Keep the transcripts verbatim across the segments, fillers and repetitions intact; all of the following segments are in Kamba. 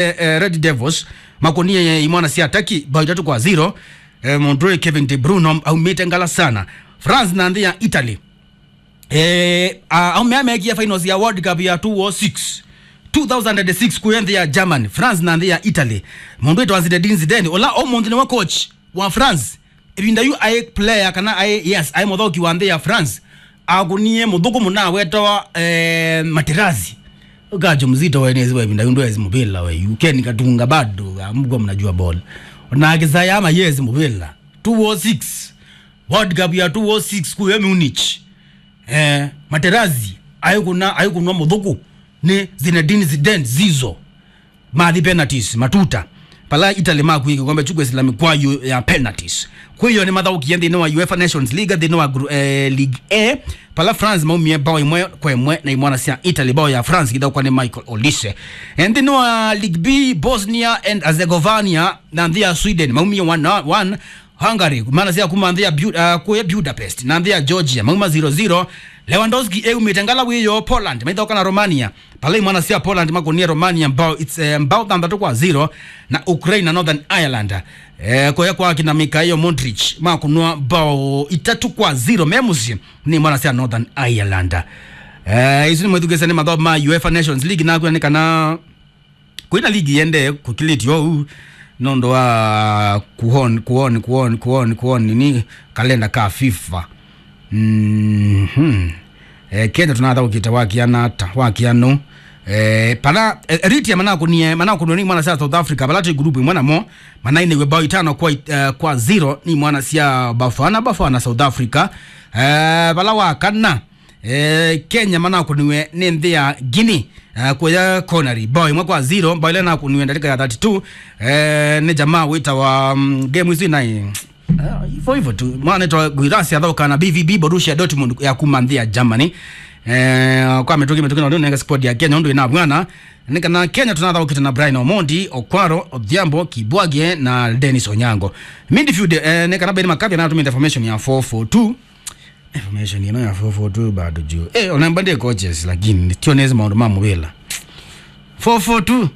eh, eh, Red Devils makũnie imwana sya Turkey bao itatũ kwa zero. Eh, mũndũ ũyũ Kevin De Bruyne aumĩte ngala sana. France na nthĩ ya Italy. Eh, a- aume ameekie finals ya World Cup ya two oh six, two thousand and six, kuya nthĩ ya Germany, France na nthĩ ya Italy. Mũndũ wĩtawa Zinedine Zidane, ũla ũmũnthĩ nĩwe coach wa France. Ĩvinda yu aĩ player kana aĩ, yes, aĩ mũthaũki wa nthĩ ya France, akũnie mũthũkũ mũna wetawa, eh, Materazzi. Ũkacho mzito we nĩsĩ we ĩvinda yu ndwesi mũvĩla we. You can katunga bado, mkuwa mnajua ball. Na kisaya ama yes mũvĩla. two oh six. World Cup ya two oh six kuya Munich. Eh, Materazzi aikuna, aikunwa mũthũkũ nĩ Zinedine Zidane Zizo. Mathi penalties, matuta. Pala Italy makuie kĩkombe kyu kwĩsĩla mĩkwayũ ya penalties. Kwĩyo nĩmathaũkie nthĩnĩ wa UEFA Nations League, nthĩnĩ wa gru- eh, League A. Pala France maumie bao ĩmwe kwa ĩmwe na imwana sya Italy, bao ya France ithaũkwa nĩ Michael Olise. Eh, nthĩnĩ wa League B, Bosnia and Herzegovina na nthĩ ya Sweden maumie one one. Hungary, mana sya kuma nthĩ ya Bu- uh, kuya Budapest na nthĩ ya Georgia mauma zero zero. Lewandowski eumĩte ngala wĩyo Poland maithaũka na Romania. Pala imwana sya Poland makunie Romania mbao, it's, eh, mbao thanthatũ kwa zero, na Ukraine na Northern Ireland. Eh, kuya kwa kina Mikhailo Modric makunwa mbao itatũ kwa zero me mũsyĩ nĩ imwana sya Northern Ireland. Eh, isu nĩ mwĩthukĩsya nĩ mathaũ ma UEFA Nations League, nakwĩa nĩ kana kwĩna ligi yendee kũkilĩtyo ũu nũndũ wa kuon kuon kuon kuon kuon ni kalenda ka FIFA. Mhm. Eh, Kenya tũnathaũkĩte wakiana ata, wakianu. Eh, pala, eh, Eritrea manakunie, manakunwe nĩ imwana sya South Africa, pala twĩ group ĩmwe namo, manainĩwe bao itano kwa it- eh, kwa zero nĩ imwana sya Bafana Bafana South Africa. Eh, pala wa kana, eh, Kenya manakuniwe nĩ nthĩ ya Guinea, eh, kuya Conakry bao ĩmwe kwa zero, bao ĩla nakuniwe ndatĩka ya thirty-two, eh, nĩ jamaa wĩtawa, mm, game isu inaĩ. Ah, hivyo hivyo tu. Mwana anaitwa Guirassy athaũka na B V B Borussia Dortmund ya kuma nthĩ ya Germany. Eh, kwa mĩtũkĩ mĩtũkĩ na ũndũ nenge squad ya Kenya ũndũ ĩnavwana. Nĩ kana Kenya tũnathaũkĩte na Brian Omondi, Okwaro, Odhiambo, Kibwage na Dennis Onyango. Midfield, eh, nĩ kana Ben Makathi anatũmĩte formation ya four four two. Eh, formation ĩno ya four four two bado juu. Eh, ona mba ndĩ coaches, lakini tio nezi maũndũ ma mũvĩla. Four four two.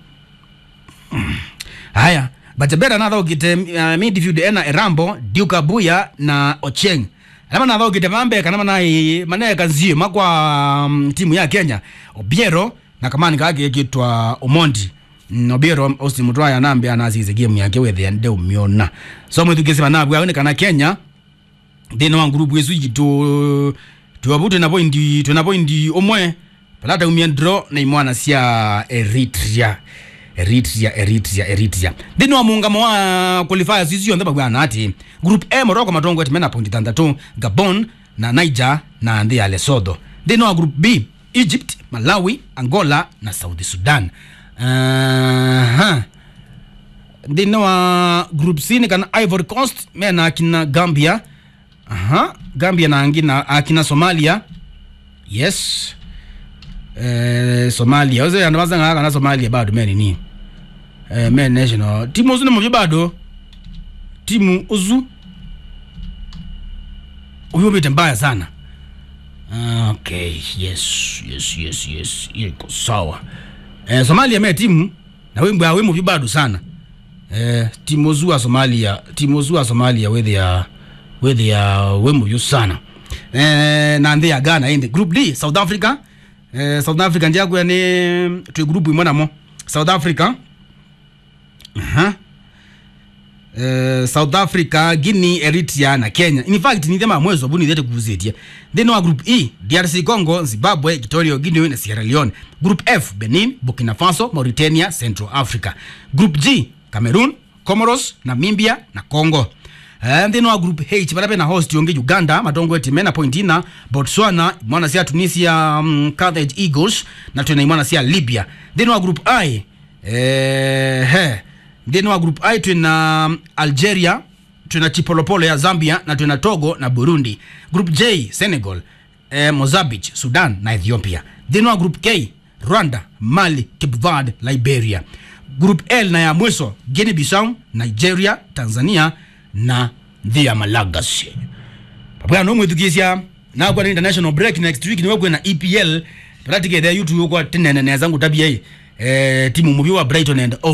Haya, Bachebera nathaũkĩte, uh, midfield ena Erambo, Duke Abuya na Ocheng. Ala manathaũkĩte mambeka na manai maneka nziĩ makwa, um, timu ya Kenya. Obiero na kamani kake kitwa Omondi. Mm, Obiero Austin Mutwaya nambĩa anasisye game yake wethĩa ndeũmyona. So mwĩthukĩsĩ manabwĩa nĩ kana Kenya nthĩnĩ wa ngurupu ĩsu yitũ, twĩ ovu twĩna poindi, twĩna poindi ũmwe, pala taumie draw na imwana sya Eritrea. Eritrea, Eritrea, Eritrea. Nthĩnĩ wa mũngamo wa qualifiers isu syonthe mawĩana atĩ, group A, Morocco matongwete mena poindi thanthatũ, Gabon na Niger na nthĩ ya Lesotho. Nthĩnĩ wa group B, Egypt, Malawi, Angola na South Sudan. Aha. Nthĩnĩ wa group C nĩ kana Ivory Coast mena akina Gambia. Aha, Gambia na angĩ na akina Somalia. Yes. Eh, Somalia. Ose andũ masangaa kana Somalia bado me nini? Eh, me national. Timu ũsu nĩ mũvyu bado. Timu ũsu ũyũmbĩte mbaya sana. Ah, okay, yes, yes, yes, yes. Iko sawa. Eh, Somalia me timu na wĩmbwa wĩ mũvyu bado sana. Eh, timu ũsu wa Somalia, timu ũsu wa Somalia wĩthĩa, wĩthĩa wĩ mũvyu sana. Eh, na nthĩ ya Ghana ĩndĩ. Group D, South Africa. Eh, South Africa ndiakwĩa nĩ twĩ group imwe namo. South Africa. Aha. Eh, South Africa, Guinea, Eritrea na Kenya. In fact, nithe ma mwezo bu nithe tukuzitie. Nthĩnĩ wa group E, D R C Congo, Zimbabwe, Equatorial Guinea na Sierra Leone. Group F, Benin, Burkina Faso, Mauritania, Central Africa. Group G, Cameroon, Comoros, Namibia na Congo. Eh, nthĩnĩ wa group H, bara bena host ũngĩ Uganda, matongoetie mena point ina, Botswana, imwana sya Tunisia, mm, Carthage Eagles, na twĩna imwana sya Libya. Nthĩnĩ wa group I, eh, he, nthĩnĩ wa group I twĩna Algeria, twĩna Chipolopolo ya Zambia, na twĩna Togo na Burundi. Group J, Senegal, eh, Mozambique, Sudan na Ethiopia. Nthĩnĩ wa group K, Rwanda, Mali, Cape Verde, Liberia. Group L na ya mwiso, Guinea Bissau, Nigeria, Tanzania na nthĩ ya Malagasy. Pabwana no mwĩthukĩĩsya, nakwa nĩ international break next week, nĩwe kwĩna E P L. Pala tikethea yu tu kwa tene nesa ngũtavia ĩ. Eh, timu mũvyu wa Brighton and Hove